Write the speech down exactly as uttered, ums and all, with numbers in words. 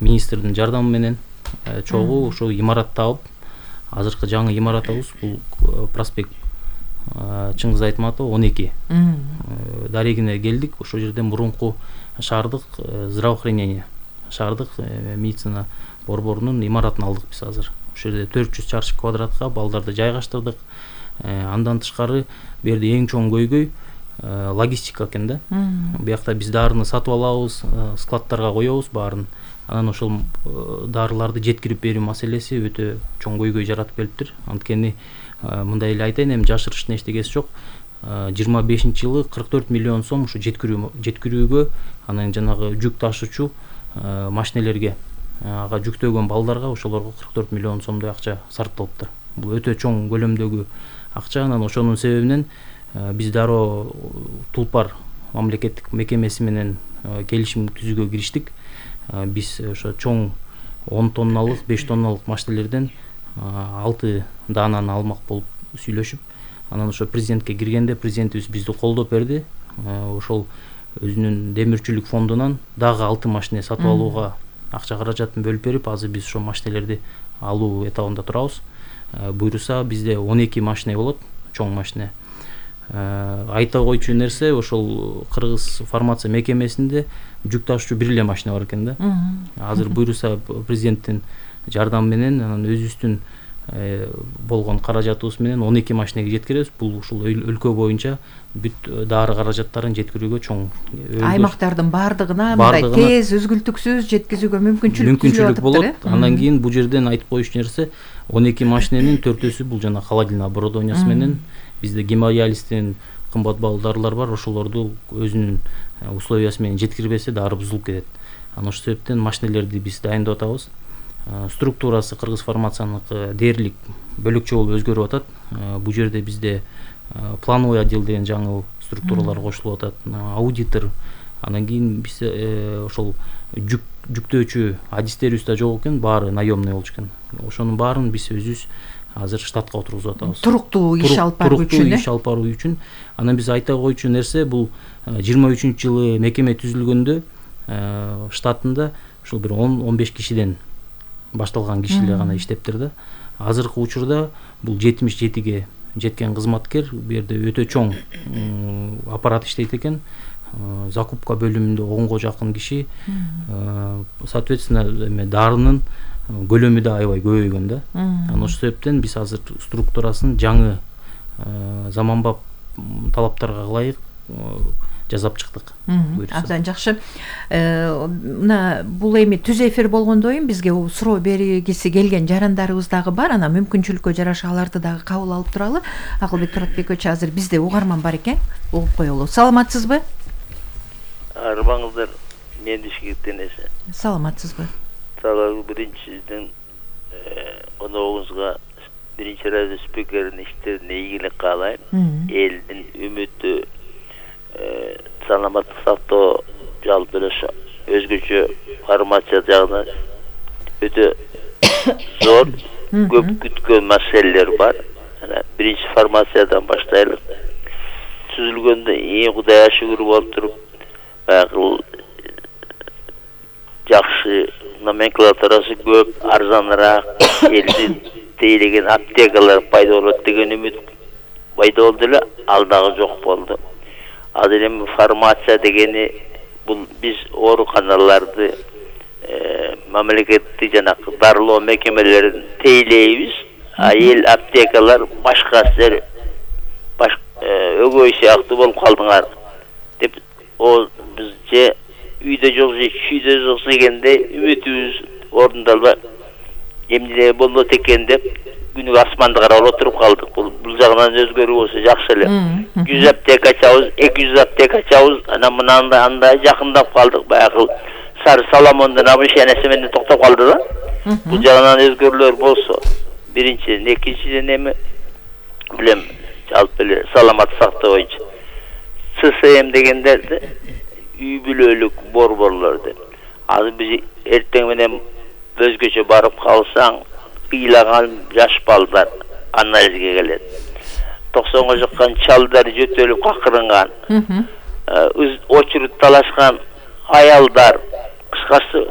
министрдин жардамы менен чогуу ошо имаратты алып, азыркы жаңы имарат абыз бул проспект Чыңгыз Айтматов он эки дарегине келдик. Ошол жерден мурунку шаардык здравоохранение, шаардык медицина борборунун имаратын алдык биз азыр. Ошол жерде төрт жүз чарчы квадратка балдарды жайгаштырдык. Андан тышкары бу жерде эң чоң көйгөй логистика экен да. Биякта биз дарыны сатып алабыз, складтарга коебуз баарын. Анан ошол дарыларды жеткирип берүү маселеси өтө чоң көйгөй жаратып келиптир. Анткени мындай эле айтайын, эми жашырыштын эчтегеси жок. жыйырма бешинчи жылы кырк төрт миллион сом ушу жеткирүү жеткирүүгө, анан жанагы жүк ташуучу машинелерге, ага жүктөгөн балдарга ошолорго кырк төрт миллион сомдой акча сарпталыптыр. Бул өтө чоң көлөмдөгү акча. Анан ошонун себебинен биз дароо Тулпар мамлекеттик мекемеси менен келишим түзүүгө кириштик. Биз ошо чоң он тонналык, беш тонналык машинелерден алты даананы алмак болуп сүйлөшүп, анан ошо президентке киргенде президентибиз бизди колдоп берди. Ошол өзүнүн демирчүлүк фондунан дагы алты машине сатып алууга акча каражатын бөлүп берип, азыр биз ошо машинелерди алуу этабында турабыз. Буйруса бизде он эки машине болот, чоң машине. Айта койчу нерсе, ошол Кыргыз фармация мекемесинде жүк ташуучу бир эле машина бар экен да. Азыр буйруса президенттин жардамы менен анан өзүбүздүн болгон каражатыбыз менен он эки машинеге жеткиребиз. Бул ушул өлкө боюнча бүт дары каражаттарын жеткирүүгө чоң аймактардын бардыгына мындай тез өзгүлтүксүз жеткизүүгө мүмкүнчүлүк мүмкүнчүлүк болот. Андан кийин бул жерден айтып коюш нерсе, он эки машиненин төртөөсү бул жана холодильное оборудованиясы менен бизде гемодиализден кымбат баалуу дарылар бар, ошолорду өзүнүн условиясы менен жеткирбесе дары бузулуп кетет. Анан ошол себептен машинелерди биз дайындап атабыз. Структурасы Кыргыз фармацияныкы дээрлик бөлөкчө болуп өзгөрүп атат. Бул жерде бизде плановый отдел деген жаңы структуралар кошулуп атат, аудитор. Андан кийин биз ошол жүк жүктөөчү адистерибиз да жок экен, баары наемный болчу экен. Ошонун баарын биз өзүбүз азыр штатка отургузуп атабыз. Туруктуу иш алып баруу үчүн. Туруктуу иш алып баруу үчүн. Анан биз айта койчу нерсе, бул жыйырма үчүнчү жылы мекеме түзүлгөндө штатында ушул бир он он беш кишиден башталган кишилер гана иштептир да. Азыркы учурда бул жетимиш жетиге жеткен кызматкер, бу жерде өтө чоң аппарат иштейт экен. Закупка бөлүмүндө онго жакын киши. Соответственно, дарынын көлөмү да аябай көбөйгөн да. Анан ошол себептен биз азыр структурасын жаңы заманбап талаптарга ылайык жасап чыктык. Абдан жакшы. Мына бул эми түз эфир болгондойм бизге суроо бергиси келген жарандарыбыз дагы бар. Анан мүмкүнчүлүккө жараша аларды дагы кабыл алып туралы. Акылбек Туратбекович, азыр бизде угарман бар экен. Угуп коелу. Саламатсызбы? Арбаңыздар, мен Бишкектен эсе. Саламатсызбы? Саламы биринчиден коногуңузга биринчи радио спикеринин иштерине ийгилик каалайм. Элдин үмүтү саламаттык сактоо жалпы эле өзгөчө фармация жагынан өтө зор, көп күткөн маселелер бар. Биринчи фармациядан баштайлык. Түзүлгөндө эң Кудайга шүгүр болуп туруп, баягы жакшы номенклатурасы көп, арзаныраак, элдин тейлеген аптекалар пайда болот деген үмүт пайда болду эле, ал дагы жок болду. Азыр эми фармация дегени бул биз ооруканаларды мамлекеттик жана дарылоо мекемелерин тейлейбиз, а эл аптекалар башка сер баш өгөй сыяктуу болуп калдыңар деп, о биз же үйдө жок же чүйдө жок дегенде үмүтүбүз орундалбай эмне болот экен деп күнүгө асманды карап отуруп калдык. Бул бул жагынан өзгөрүү болсо жакшы эле. жүз аптека ачабыз, эки жүз аптека ачабыз, анан мынандай андай жакындап калдык. Баягы Сары Соломондун обращениясы менен токтоп калды да. Бул жагынан өзгөрүүлөр болсо, биринчиден, экинчиден эми билем жалпы эле саламаттык сактоо боюнча ЦСМ дегендерди үй бүлөлүк борборлор деп. Азыр биз эртең менен өзгөчө барып калсаң, кыйлаган жаш балдар анализге келет. токсонго жаккан чалдар жөтөлүп какырынган, очередь талашкан аялдар, кыскасы